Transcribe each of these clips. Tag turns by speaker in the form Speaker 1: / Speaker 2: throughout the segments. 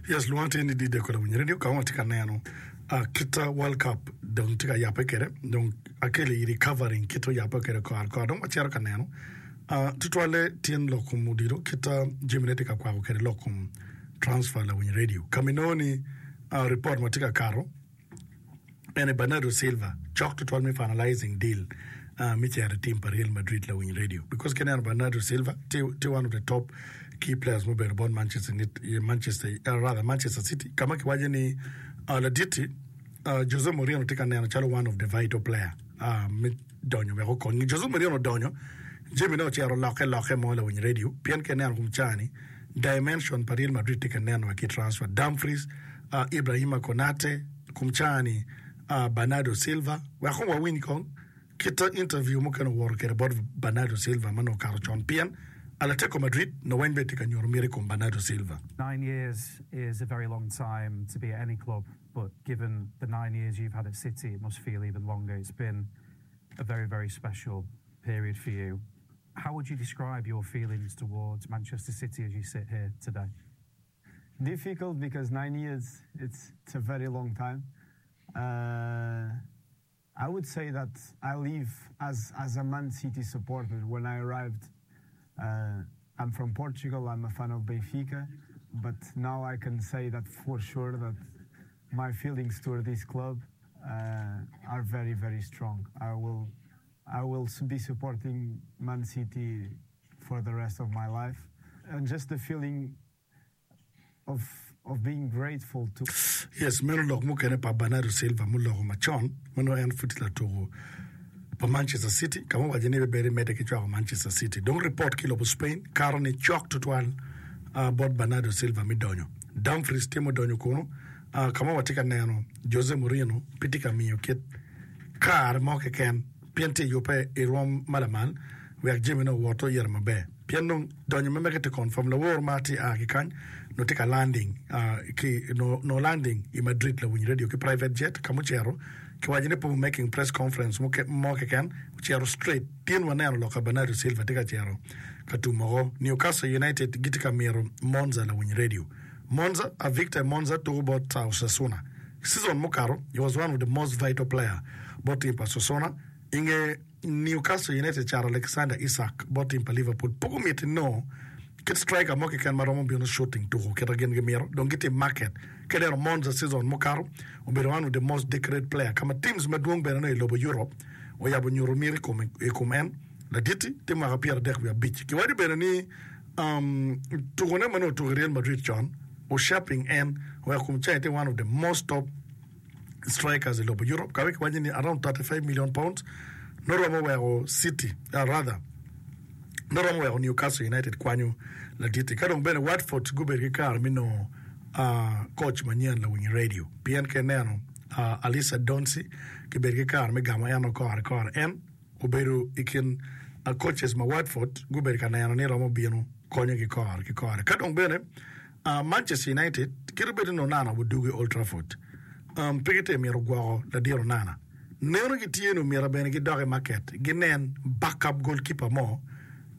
Speaker 1: Yes, lwonga tye ni DJ Kola Winyo Radio ka ma watye ka neno uh, kita World Cup dong tye ka yabbe kwede dong akelo iri covering kit oyabbe kwede kore kore dong wacito ka neno uh, tutwalle tyen lok kom odilo kita jamine tye ka kwako kwede lok kom transfer lawiny radio ka ma inongo ni uh, report ma tye ka kato Ene Bernardo Silva cok tutwal me finalizing deal me cito i team pa Real Madrid lawiny radio because ka ineno Bernardo Silva tye tye one of the top key players mubedo bot Manchester Manchester rather Manchester City ka ma kiwaco ni ladit-ti Jose Mourinho tye ka neno calo one of the vital player me donyo wek okony. Jose Mourinho odonyo jamine ocito olokke lokke mo lawiny radio pien ka ineno kom caa-ni dimension pa Real Madrid tye ka nen wa ki transfer Dumfries Ibrahima Konate, kom caa-ni Bernardo Silva. Wek kong wawiny kong kit interview mukene owoto kwede bot Bernardo Silva ma nongo okato con pien Atletico Madrid nongo weng bene tye ka nyuto miti i kom Bernardo Silva.
Speaker 2: Nine years is a very long time to be at any club, but given the nine years you've had at City, it must feel even longer. It's been a very, very special period for you. How would you describe your feelings towards Manchester City as you sit here today?
Speaker 3: Difficult because nine years it's, it's a very long time. Uh, I would say that I live as as a Man City supporter. When I arrived, uh, I'm from Portugal. I'm a fan of Benfica, but now I can say that for sure that my feelings toward this club uh, are very very strong. I will I will be supporting Man City for the rest of my life, and just the feeling of of being grateful to.
Speaker 1: Yes, meno lok mukene pa Bernardo Silva muloko macon ma nongo en pud tye latuko pa Manchester City ka ma owaco ni ebibedo emedde ki cwako Manchester City. Dong ripot ki i lobo Spain kato ni cok tutwal bot Bernardo Silva me donyo. Dumfries tye mudonyo kunu ka ma watye ka neno Jose Mourinho pe tye ka miyo kit kare mo keken pien tye yubbe i rwom ma lamal wek jamine owot oyite maber. Pien dong donyo ma mege tye confirm lawor ma tye a ki kany nongo tye ka landing ki nongo landing i Madrid lawiny radio ki private jet ka mucito ki waco ni pe making press conference mo keken ocito straight tin waneno loka Bernardo Silva tye ka cito ka tum woko Newcastle United gitye ka mito Monza lawiny radio Monza a Victor Monza tuko bot Osasuna season mukato he was one of the most vital player bot team pa Osasuna inge Newcastle United cato Alexander Isak bot tim pa Liverpool. Pe gumiti nongo kit striker mo keken ma romo bino shooting tuko kita gin gimito. Dong gitye i market. Ka ineno Monza season mukato, obedo one of the most decorate player ka ma teams madwong bene nongo i lobo Europe oyabo nyuto miti i kom en. Ladit-ti tye mwaka 35. Kiwaco bene ni um, tukone ma nongo otuko i Real Madrid con o shaping en oweko kom cayi tye one of the most top strikers i lobo Europe ka wek kiwaco ni around 35 million pounds nongo romo weko City uh, rather nongo romo weko Newcastle United kwanyo ladit-ti. Ka dong bene Watford gubedo ki kare me nongo uh, coach manyen lawiny radio pien ka ineno uh, Alissa Donsi kibedo ki kare me gamo en kore kore en obedo i kin uh, coaches ma Watford gubedo ka neno ni romo bino konyogi kore ki kore. Ka dong bene Manchester United kit obed ni Onana odwogo i Old Trafford, pe gitye mito gwoko ladit Onana. Neno gitye ni omyero bene gidok i maket ginen backup goalkeeper mo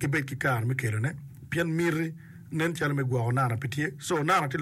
Speaker 1: gibed ki kare me kelone pien miti nen calo me gwoko Onana pe tye. So Onana tye.